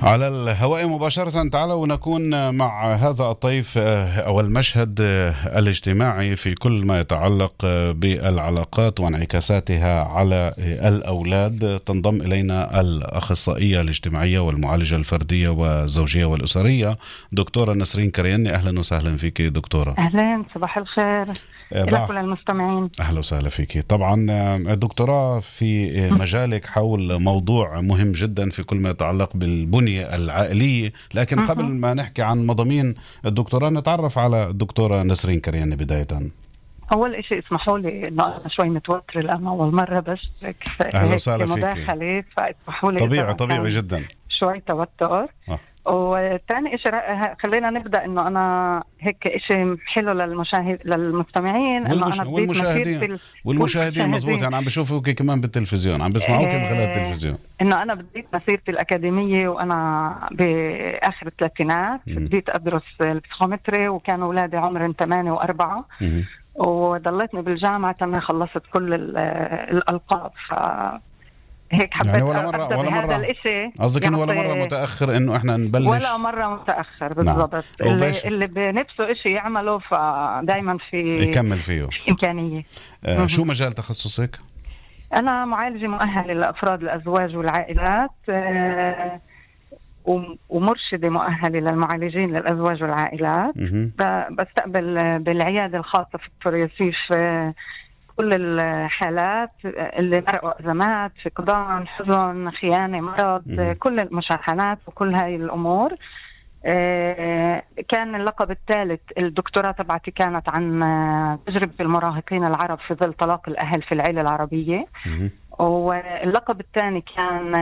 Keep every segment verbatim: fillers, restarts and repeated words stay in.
على الهواء مباشرة. تعالوا ونكون مع هذا الطيف أو المشهد الاجتماعي في كل ما يتعلق بالعلاقات وانعكاساتها على الأولاد. تنضم إلينا الأخصائية الاجتماعية والمعالجة الفردية والزوجية والأسرية دكتورة نسرين كرياني. أهلا وسهلا فيك دكتورة. أهلا، صباح الخير إلى كل المستمعين. أهلا وسهلا فيك. طبعا دكتوراه في مجالك حول موضوع مهم جدا في كل ما يتعلق بالبنية العائلية، لكن قبل ما نحكي عن مضامين الدكتوراه نتعرف على الدكتورة نسرين كرياني بداية. أول إشي اسمحوا لي إنه أنا شوي متوترة لأن أول مرة بشترك أهلا وسهلا فيك مداخلة، فاسمحوا لي طبيعي طبيعي جدا شوي توتر. آه. وثاني إشي خلينا نبدأ إنه أنا هيك إشي حلو للمشاهد للمستمعين إنه أنا والمشاهدين والمشاهدين مزبوط، يعني عم بشوفوك كمان بالتلفزيون، عم بسمعوك من خلال التلفزيون. إنه أنا بديت مسيرتي الأكاديمية وأنا بآخر الثلاثينات، بديت أدرس البسيكومتري وكان أولادي عمرهم ثمانية وأربعة، وضليتني بالجامعة تم خلصت كل الألقاب. ف هيك حبيت يعني ولا مرة ولا مرة الاشي قصدك انه ولا مرة متأخر انه احنا نبلش، ولا مرة متأخر بالضبط. نعم. اللي, اللي بنفسه اشي يعمله فدايما في يكمل فيه إمكانية. آه شو مجال تخصصك؟ أنا معالجة مؤهلة لأفراد الأزواج والعائلات، آه ومرشدة مؤهلة للمعالجين للأزواج والعائلات. بستقبل بالعيادة الخاصة في الفريسيف كل الحالات اللي مرقوا أزمات، فقدان، حزن، خيانة، مرض، م- كل المشاحنات وكل هاي الأمور. كان اللقب الثالث الدكتوراه تبعتي كانت عن تجربة المراهقين العرب في ظل طلاق الأهل في العائلة العربية. م- واللقب الثاني كان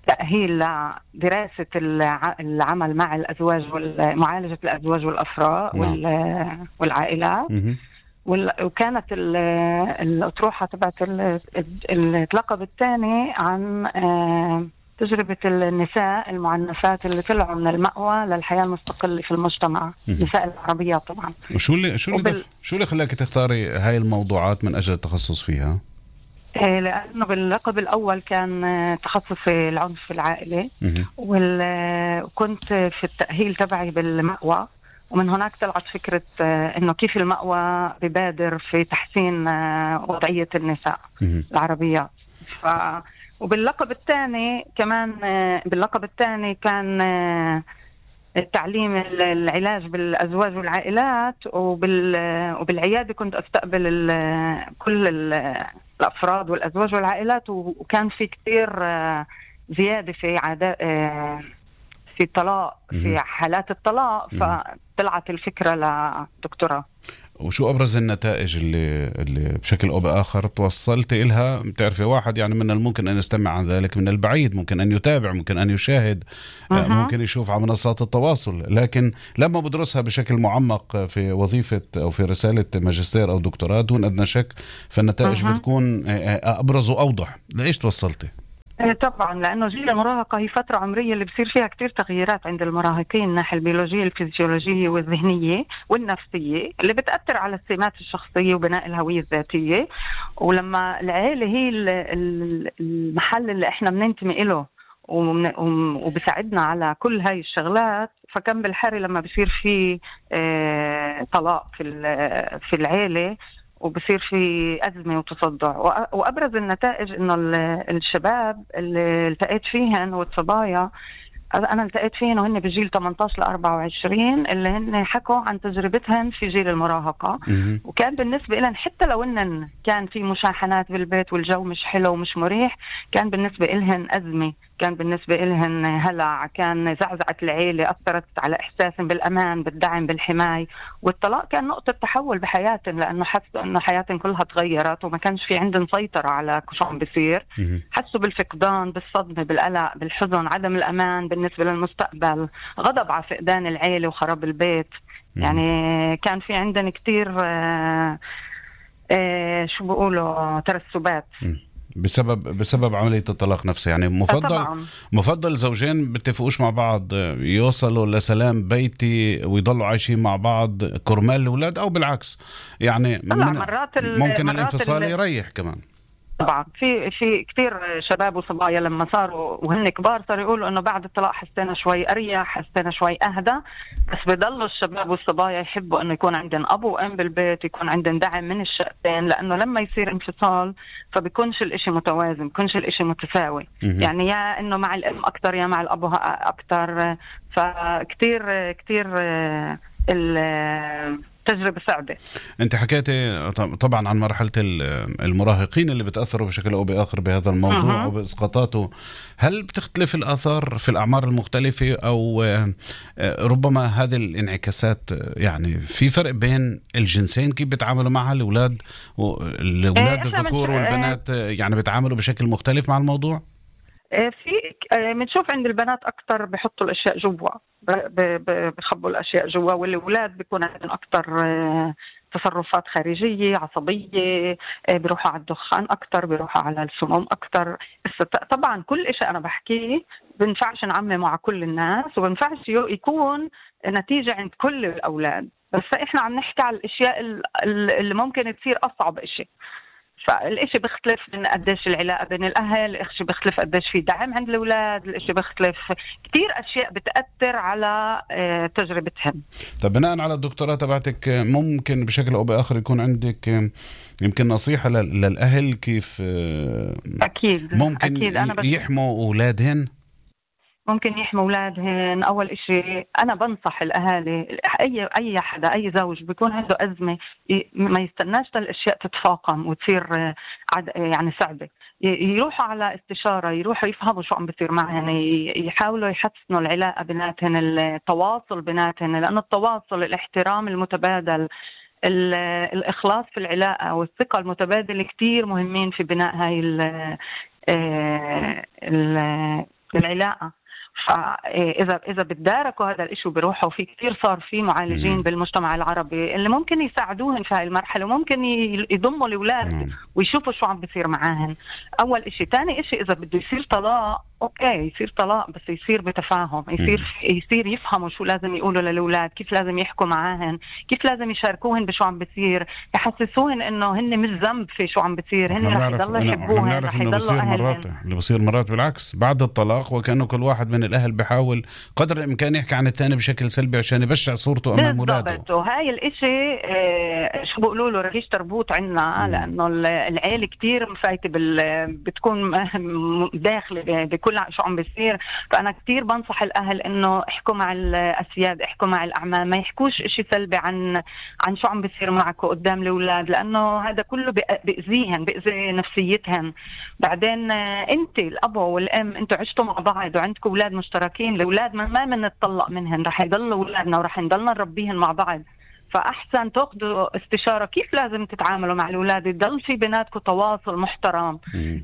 تأهيل لدراسة العمل مع الأزواج ومعالجة الأزواج والأفراء م- والعائلات. م- وكانت الأطروحة تبعت اللقب الثاني عن تجربة النساء المعنفات اللي طلعوا من المأوى للحياة المستقلة في المجتمع، النساء العربية طبعا. وشو اللي شو اللي وبال... شو اللي خلاك تختاري هاي الموضوعات من أجل التخصص فيها؟ لأنه باللقب الأول كان تخصصي العنف في العائلة، وكنت في التأهيل تبعي بالمأوى، ومن هناك طلعت فكرة إنه كيف المأوى ببادر في تحسين وضعية النساء العربيات. ف... وباللقب الثاني كمان باللقب الثاني كان التعليم العلاج بالأزواج والعائلات، وبال... وبالعيادة كنت أستقبل ال... كل الأفراد والأزواج والعائلات، وكان في كتير زيادة في عادات في الطلاق، في حالات الطلاق، فطلعت الفكرة لدكتوراه. وشو أبرز النتائج اللي, اللي بشكل أو بآخر توصلت إلها؟ بتعرفي واحد يعني من الممكن أن يستمع عن ذلك من البعيد، ممكن أن يتابع، ممكن أن يشاهد، أه. ممكن يشوف على منصات التواصل، لكن لما بدرسها بشكل معمق في وظيفة أو في رسالة ماجستير أو دكتوراه دون أدنى شك فالنتائج أه. بتكون أبرز وأوضح. لإيش توصلتي؟ طبعا لأنه جيل المراهقة هي فترة عمرية اللي بصير فيها كتير تغييرات عند المراهقين، الناحية البيولوجية الفيزيولوجية والذهنية والنفسية اللي بتأثر على السمات الشخصية وبناء الهوية الذاتية. ولما العائلة هي المحل اللي احنا بننتمي إله وبساعدنا على كل هاي الشغلات، فكان بالحري لما بصير في طلاق في في العائلة وبصير في أزمة وتصدع. وأبرز النتائج إنه الشباب اللي التقيت فيهن والصبايا أنا التقيت فيهن وهن بجيل ثمانية عشر لأربعة وعشرين اللي هن حكوا عن تجربتهن في جيل المراهقة، وكان بالنسبة لهم حتى لو إن كان في مشاحنات بالبيت والجو مش حلو ومش مريح، كان بالنسبة لهم أزمة، كان بالنسبة لهم هلع، كان زعزعة العيلة، أثرت على إحساسهم بالأمان بالدعم بالحماية. والطلاق كان نقطة تحول بحياتهم لأنه حسوا أنه حياتهم كلها تغيرت وما كانش في عندهم سيطرة على شو عم بيصير. حسوا بالفقدان، بالصدمة، بالقلق، بالحزن، عدم الأمان بالنسبة للمستقبل، غضب على فقدان العيلة وخراب البيت. يعني كان في عندنا كتير آه آه شو بيقولوا ترسبات بسبب بسبب عملية الطلاق نفسه. يعني مفضل طبعاً. مفضل زوجين بتفقوش مع بعض يوصلوا لسلام بيتي ويضلوا عايشين مع بعض كرمال الأولاد، أو بالعكس يعني من مرات ممكن مرات الانفصال يريح كمان. طبعا في في كثير شباب وصبايا لما صاروا وهن كبار صاروا يقولوا انه بعد الطلاق حسينا شوي اريح، حسينا شوي اهدى، بس بضلوا الشباب والصبايا يحبوا انه يكون عندهم ابو وام بالبيت، يكون عندهم دعم من الشقتين، لانه لما يصير انفصال فبيكونش الاشي متوازن، بيكونش الاشي متساوي. يعني يا انه مع الام اكتر يا مع الابو اكتر، فكتير كتير التجربة صعبة. انت حكيتي طبعا عن مرحلة المراهقين اللي بتأثروا بشكل او باخر بهذا الموضوع وبإسقاطاته. هل بتختلف الآثار في الأعمار المختلفة، او ربما هذه الانعكاسات يعني في فرق بين الجنسين كيف بيتعاملوا معها الأولاد الأولاد الذكور والبنات، يعني بيتعاملوا بشكل مختلف مع الموضوع؟ في بنشوف عند البنات أكتر بيحطوا الأشياء جوا، بخبوا الأشياء جوا، والأولاد بيكون عندهم أكتر تصرفات خارجية عصبية، بيروحوا على الدخان أكتر، بيروحوا على السموم أكتر. طبعا كل إشي أنا بحكيه بنفعش نعمم مع كل الناس، وبنفعش يكون نتيجة عند كل الأولاد، بس إحنا عم نحكي على الأشياء اللي ممكن تصير أصعب إشي. فالإشي بيختلف من قديش العلاقة بين الأهل، الإشي بيختلف قديش في دعم عند الأولاد، الإشي بيختلف كتير أشياء بتأثر على تجربتهم. طب بناء على الدكتوراه تبعتك ممكن بشكل أو بآخر يكون عندك يمكن نصيحة للأهل كيف أكيد ممكن أكيد أنا يحموا أولادهن؟ ممكن يحموا أولادهن. أول إشي أنا بنصح الأهالي، أي أي حدا أي زوج بيكون عنده أزمة ما يستناش الأشياء تتفاقم وتصير يعني صعبة، يروحوا على استشارة، يروحوا يفهموا شو عم بيصير معهن، يحاولوا يحسنوا العلاقة بيناتهن، التواصل بيناتهن، لأن التواصل، الاحترام المتبادل، الإخلاص في العلاقة والثقة المتبادلة كتير مهمين في بناء هاي العلاقة. فإذا إذا بتداركوا هذا الإشي وبيروحوا، في كتير صار في معالجين بالمجتمع العربي اللي ممكن يساعدوهن في هاي المرحلة، وممكن يضموا الأولاد ويشوفوا شو عم بيصير معاهن. أول إشي. تاني إشي، إذا بده يصير طلاق أوكي يصير طلاق، بس يصير بتفاهم، يصير يصير يفهموا شو لازم يقولوا للأولاد، كيف لازم يحكوا معاهن، كيف لازم يشاركوهن بشو عم بيصير، يحسسوهن إنه هن مش ذنب في شو عم بيصير، هن رح يضلوا يحبوهن، رح يضلوا أهلهن. اللي بصير مرات بالعكس بعد الطلاق، وكأنه كل واحد من الأهل بيحاول قدر الإمكان يحكي عن الثاني بشكل سلبي عشان يبشع صورته أمام أولاده. وهاي الإشي اه شو بقولوا له رغيش تربوط عنا، لأنه العيلة كتير مفايتة بال بتكون داخلة بكل شو عم بيصير. فأنا كتير بنصح الأهل إنه احكوا مع الأسياد، احكوا مع الأعمام، ما يحكوش إشي سلبي عن عن شو عم بيصير معكم قدام الأولاد، لأنه هذا كله بيأذيهن، بيأذي نفسيتهن. بعدين أنت الأب والأم أنتوا عشتوا مع بعض وعندكم أولاد مشتركين، الأولاد ما ما بنتطلق منهن، رح يضلوا أولادنا ورح نضلنا نربيهن مع بعض. فأحسن تأخذوا استشارة كيف لازم تتعاملوا مع الأولاد، يضل في بيناتكم تواصل محترم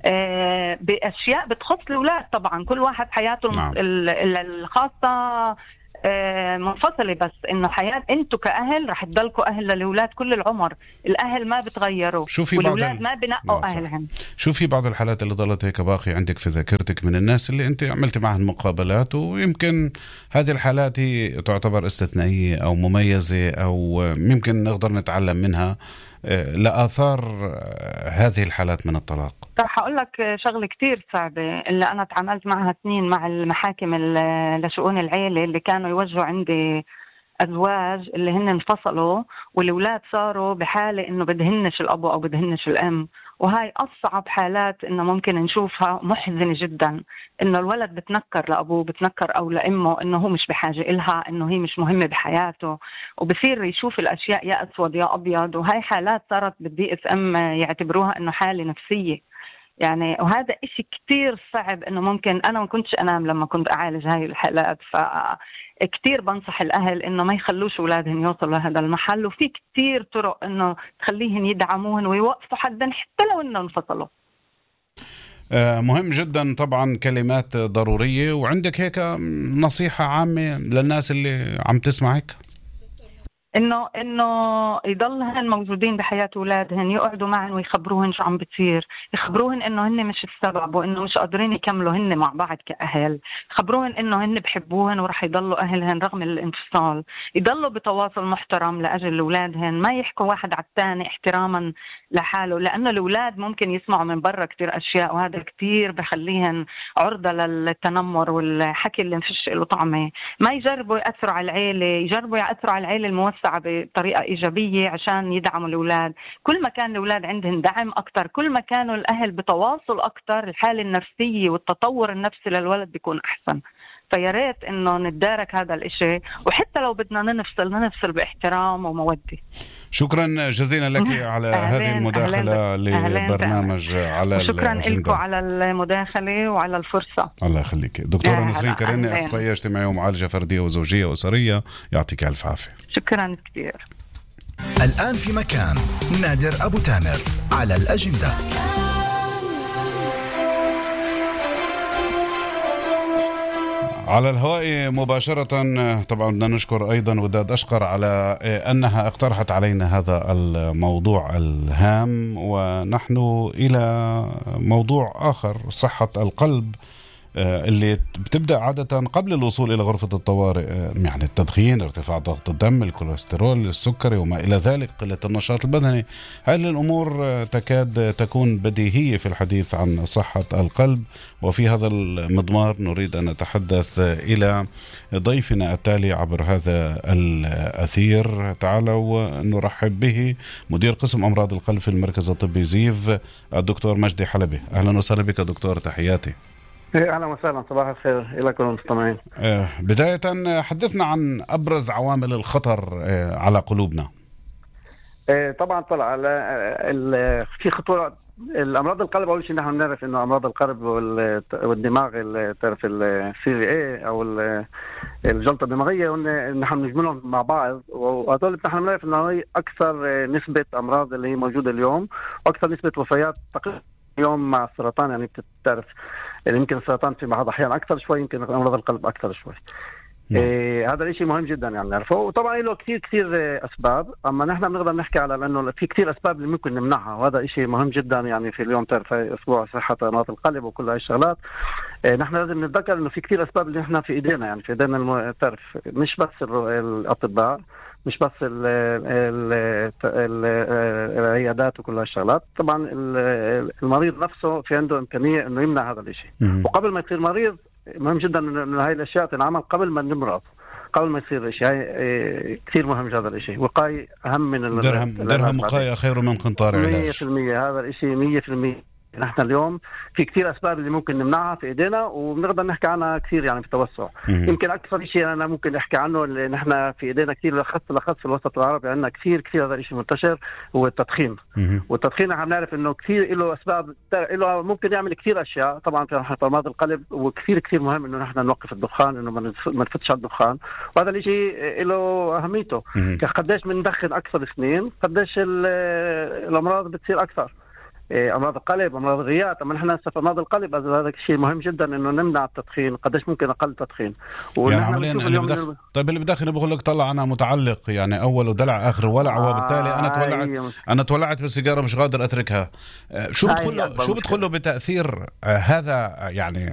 آه بأشياء بتخص الأولاد. طبعا كل واحد حياته نعم. الخاصة آه منفصلة، بس إنه حياة أنتوا كأهل رح تضلكوا أهل للأولاد كل العمر، الأهل ما بتغيروا والأولاد ال... ما بنقوا أهلهم. شو في بعض الحالات اللي ضلت هيك باقي عندك في ذاكرتك من الناس اللي أنت عملت معهم مقابلات، ويمكن هذه الحالات هي تعتبر استثنائية أو مميزة، أو يمكن نقدر نتعلم منها لآثار هذه الحالات من الطلاق؟ رح أقول لك شغلة كتير صعبة اللي أنا تعاملت معها سنين مع المحاكم لشؤون العيلة، اللي كانوا يوجهوا عندي أزواج اللي هن انفصلوا والأولاد صاروا بحالة إنه بدهنش الأب أو بدهنش الأم، وهاي أصعب حالات إنه ممكن نشوفها، محزنة جدا إنه الولد بتنكر لأبوه، بتنكر أو لأمه، إنه هو مش بحاجة إلها، إنه هي مش مهمة بحياته، وبصير يشوف الأشياء يا أسود يا أبيض. وهاي حالات صارت بالدي اس ام يعتبروها إنه حالة نفسية يعني، وهذا إشي كتير صعب. إنه ممكن أنا ما كنتش أنام لما كنت أعالج هاي الحالات، فكتير بنصح الأهل إنه ما يخلوش أولادهم يوصلوا لهذا المحل، وفي كتير طرق إنه تخليهم يدعموهن ويوقفوا حدا حتى لو إنه انفصلوا. مهم جدا طبعا، كلمات ضرورية. وعندك هيك نصيحة عامة للناس اللي عم تسمعك؟ انه انه يضلهن موجودين بحياه اولادهن، يقعدوا معهم ويخبروهن شو عم بتصير، يخبروهن انه هن مش السبب وانه مش قادرين يكملوا هن مع بعض كاهل، يخبروهن انه هن بحبوهن ورح يضلوا اهلهن رغم الانفصال، يضلوا بتواصل محترم لاجل اولادهن، ما يحكوا واحد على الثاني احتراما لحاله، لانه الاولاد ممكن يسمعوا من برا كتير اشياء وهذا كتير بخليهن عرضه للتنمر والحكي اللي مفيش له طعمه. ما يجربوا ياثروا على العيله، يجربوا ياثروا على العيله الموسعه بطريقة إيجابية عشان يدعموا الأولاد. كل ما كان الأولاد عندهم دعم أكتر، كل ما كانوا الأهل بتواصل أكتر، الحالة النفسية والتطور النفسي للولد بيكون أحسن. فيا ريت إنه نتدارك هذا الإشي، وحتى لو بدنا ننفصل ننفصل باحترام ومودة. شكرا جزيلا لك على هذه المداخلة لبرنامج على شكرا لكم على المداخلة وعلى الفرصة. الله يخليك. دكتورة نسرين كريني، أخصائية اجتماعية ومعالجة فردية وزوجية وأسرية، يعطيك ألف عافية. شكرا كثير. الآن في مكان نادر أبو تامر على الأجندة. على الهواء مباشرة. طبعا بدنا نشكر أيضا وداد أشقر على أنها اقترحت علينا هذا الموضوع الهام، ونحن إلى موضوع آخر، صحة القلب اللي بتبدأ عادة قبل الوصول إلى غرفة الطوارئ، يعني التدخين، ارتفاع ضغط الدم، الكوليسترول، السكري وما إلى ذلك، قلة النشاط البدني. هذه الأمور تكاد تكون بديهية في الحديث عن صحة القلب. وفي هذا المضمار نريد أن نتحدث إلى ضيفنا التالي عبر هذا الأثير. تعالوا نرحب به مدير قسم أمراض القلب في المركز الطبي زيف، الدكتور مجدي حلبي. أهلا وسهلا بك دكتور، تحياتي. اهلا وسهلا، صباح الخير لكم المستمعين. بداية حدثنا عن أبرز عوامل الخطر على قلوبنا. طبعا طلع على في خطورة الأمراض القلب. أول شيء نحن نعرف إنه أمراض القلب والدماغ، تعرف السي في اي أو الجلطة الدماغية، ونحن نجملهم مع بعض، وهذول نحن نعرف إنه هي أكثر نسبة أمراض اللي هي موجودة اليوم، وأكثر نسبة وفيات تقريبا اليوم مع السرطان. يعني بتعرف يعني يمكن السرطان في بعض الأحيان أكثر شوي، يمكن أمراض القلب أكثر شوي. إيه هذا الشيء مهم جدا يعني نعرفه، وطبعا له كثير كثير أسباب، أما نحن بنقدر نحكي على لأنه في كثير أسباب اللي ممكن نمنعها، وهذا شيء مهم جدا. يعني في اليوم تعرف أسبوع صحة أمراض القلب وكل هاي الشغلات، إيه نحن لازم نتذكر إنه في كثير أسباب اللي نحن في إيدينا، يعني في إيدينا الم... تعرف مش بس الأطباء، مش بس ال ال ال العيادات وكل هالشغلات. طبعا المريض نفسه في عنده إمكانية إنه يمنع هذا الشيء، وقبل ما يصير مريض مهم جدا إنه هاي الأشياء تنعمل قبل ما نمرض، قبل ما يصير شيء. هاي كثير مهم هذا الشيء، وقاية أهم من درهم درهم وقاية خير من قنطار علاج. مية في المية هذا الشيء مية في المية. نحن اليوم في كثير أسباب اللي ممكن نمنعها في إيدينا، وبنقدر نحكي عنها كثير يعني في توسع. يمكن أكثر شيء أنا ممكن أحكي عنه اللي نحن في إيدينا كثير لخص لخص في الوسط العربي عندنا كثير كثير هذا الشيء منتشر، هو التدخين. والتدخين نحن نعرف إنه كثير له أسباب، له ممكن يعمل كثير أشياء. طبعا في أمراض القلب وكثير كثير مهم إنه نحن نوقف الدخان، إنه ما نفتش على الدخان، وهذا الشيء له أهميته. قديش بندخن أكثر سنين قديش الأمراض بتصير أكثر. أمراض القلب، أمراض الرئات، أما نحن هسه في أمراض القلب هذا الشيء مهم جدا إنه نمنع التدخين. قديش ممكن أقل تدخين. يعني اللي بدخ... طيب اللي بدخن بقول لك طلع أنا متعلق، يعني أول ودلع آخر ولع، آه وبالتالي أنا تولعت آه أنا تولعت بالسيجارة مش قادر أتركها. شو بتدخله شو بتدخله بتأثير آه هذا يعني